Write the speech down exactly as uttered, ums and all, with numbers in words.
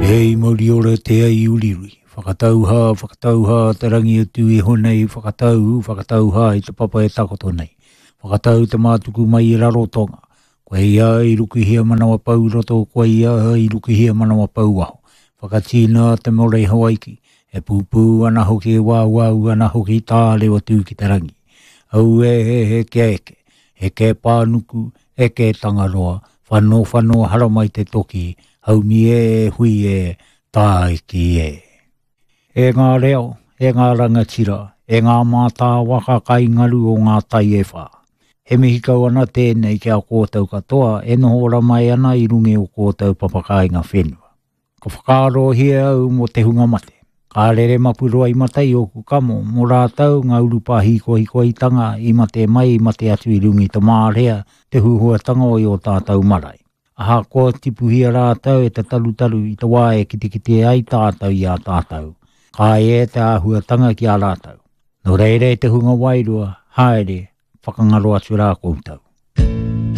Hei mauri ora te ai uriuri. Whakatauhā, whakatauhā te rangi atu iho nei, whakatau, whakatauhā i te papa e takoto nei. Whakatau te mātuku mai i Rarotonga. Koe ia i rukuhia manawa pau roto, koe ia i rukuhia manawa pau waho. Whakatīna te more i Hawaiki. E pūpū ana hoki e wāwau ana hoki tārewa tū ki te rangi. Au e he he kia eke, eke pānuku, eke tangaroa, whano whano haramai te toki, haumi e hui e, tāiki e. E ngā reo, e ngā rangatira, e ngā mātāwaka kai ngaru o ngā tai e whā. He mihi kau ana tēnei ki a kōtou katoa e noho ora mai ana i runga o kōtou papakāinga whenua. Ka whakaarohia au mō te hunga mate. Ka rere mapuroa i mata i ōku kamo, mō rātou ngā urupā hikohikoitanga i mate mai i mate atu i runga i te mārea, te huhuatanga o i o tātou marae. Ahakoa tipuhia rātou e te tarutaru i te wā e kitekite ai tātou i a tātou. Ka e te āhuatanga ki a rātou. Nō reira e te hunga wairua, haere, whakangaro atu rā koutou.